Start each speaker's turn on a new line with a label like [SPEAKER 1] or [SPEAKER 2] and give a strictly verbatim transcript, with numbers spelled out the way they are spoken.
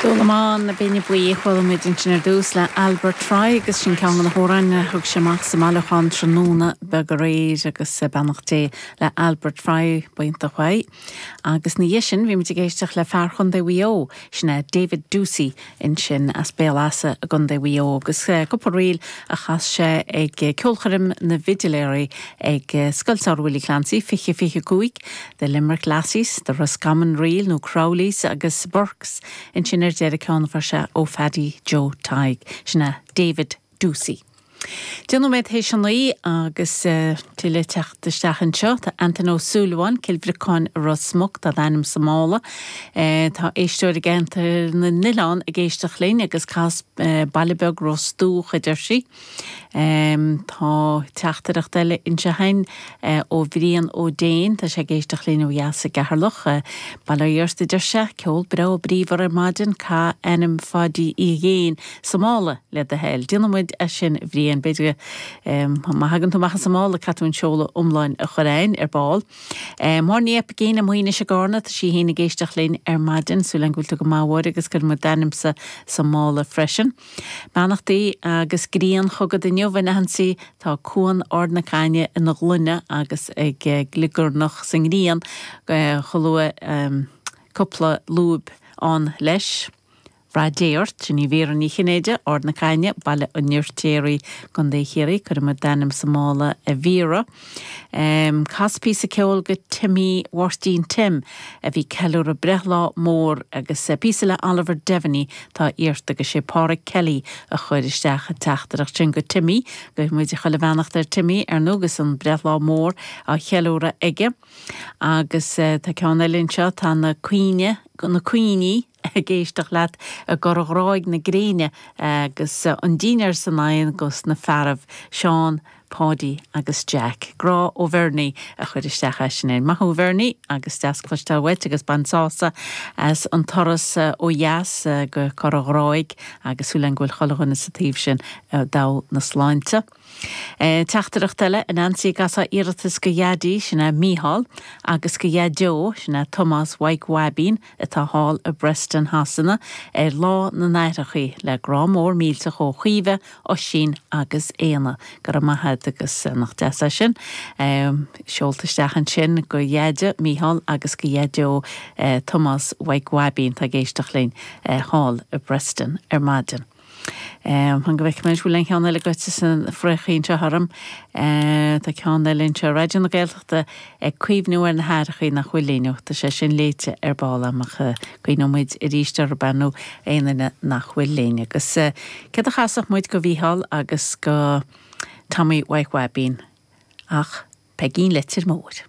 [SPEAKER 1] Dúlamán na Binne Buí chuala muid ansin ar dtús le Albert Fry agus sin ceann de na hamhráin a thug sé amach sa mbailiúchán tráthnóna beag aréir agus beannacht Dé le Albert Fry baintach uaidh. Agus ina dhiaidh sin bhí muid ag éisteacht le fear Chontae Mhaigh Eo sin é David Doocey ansin as Béal Easa i gContae Mhaigh Eo agus cúpla ríl a chas sé ag ceolchoirm na bhfidiléirí ag Scoil Samhraidh Willie Clancy fiche fiche cúig The Limerick Lassies, the Roscommon Reel nó Crowleys agus Burks ansin ar deireadh ceann sé ó Phaddy Joe Tadhg sin é David Doocey. Deich nóiméad théis a naoi agus uh, tuilleadh teacht isteach anseo tá Antain Ó Súilleabháin Cill Bhriocáin Ros Muc tá d'ainm sa mála. Uh, tá éisteoir i gCeantar na nOileán ag éisteacht linn agus cas uh, Baile Beag Ros Dumhach a deir sí. Um, tá teachtaireacht eile ansin uh, ó Bhrian Ó Déin tá sé ag éisteacht linn ó dheas i gCeatharlach uh, Bail ó Dhia ort a deir sé ceol breá bríomhar ar maidin caith ainm Pháidí Uí Dhéin sa mála le do thoil. Déanfaidh muid é sin Bhrian b'fhéidir um, má thagann tú amach as an mála caithfidh tú an seoladh iomlán a chur chugainn ar ball. Um, Mar ní gcéine muoine se gána tá sí héana géisteach linn ar maidin súil agam go bhfuil tú go maith agus cuirfidh muid d'ainmsa sa mála freisin. Beannachtaí agus grian chugat inniu a Nancy tá cuan Ard na Cainne ina ghloine agus ag gliogarnach sa ngrian chomh um, cúpla lúb an leis. Rath Dé ort sin í Vera Ní Chinnéide Ard na Cainne Baile an Fheirtéaraigh Contae Chiarraí cuirfidh muid d'ainm sa mála a Vera. Um, Cas píosa ceoil go Timmy Mháirtín Tim a bhí ceiliúradh breithlá mór agus píosa le Oliver Devaney tá iarrta agus sé Pádraig Kelly a chuir isteach an teachtaireacht sin go Timmy go muid chuile bheannacht ar Timmy ar nógus an breithlá mór á cheiliúradh aige. Agus uh, tá ceann eile anseo tá na cuioine na cuioiní ag éisteacht leat i gCora Ghráig na Gréine agus an dinnéar san oigheann gus na fearaibh Seán, Páidí agus Jack. Grá ó Bhernie a chuir isteach sin é. Maith thú Bhernie agus deas cloisteáil uait agus bain sásamh as an turas ó dheas go Cora Ghráig agus súil agam go bhfuil chuile dhuine sa taobh sin dá na sláinte. E, Teachtaireacht eile a Nancy gas iarratas go Dhaidí sin é Mícheál agus go Dhaideo sin é Thomas Mhaidhc Bhaibín atá thall i Preston Shasana ar lá na n-aithreacha le grá mór millteach ó Chaoimhe Oisín agus Éanna go raibh maith agus nach deas é sin. Um, Seolta isteach ansin go Dhaide Mícheál agus go Dhaideo uh, Thomas Mhaidhc Bhaibín tá ag éisteacht linn uh, thall i Preston ar maidin. Um, Han go bhfuil bhfuil an ceann eile goite san fréchéin seo tharm Tá ceann eile anseo Raidió na Gaeltachta ag cuimhniú ar na haithreacha nach bhfuil linn tá sé sin léite ar ball amach cuimhneoidh muid arís ar benú aon nach bhfuil linn agus cad a chasfadh muid go Mhícheál agus go Tommy Mhaidhc Bhaibín ach Peigín Leitir Móir.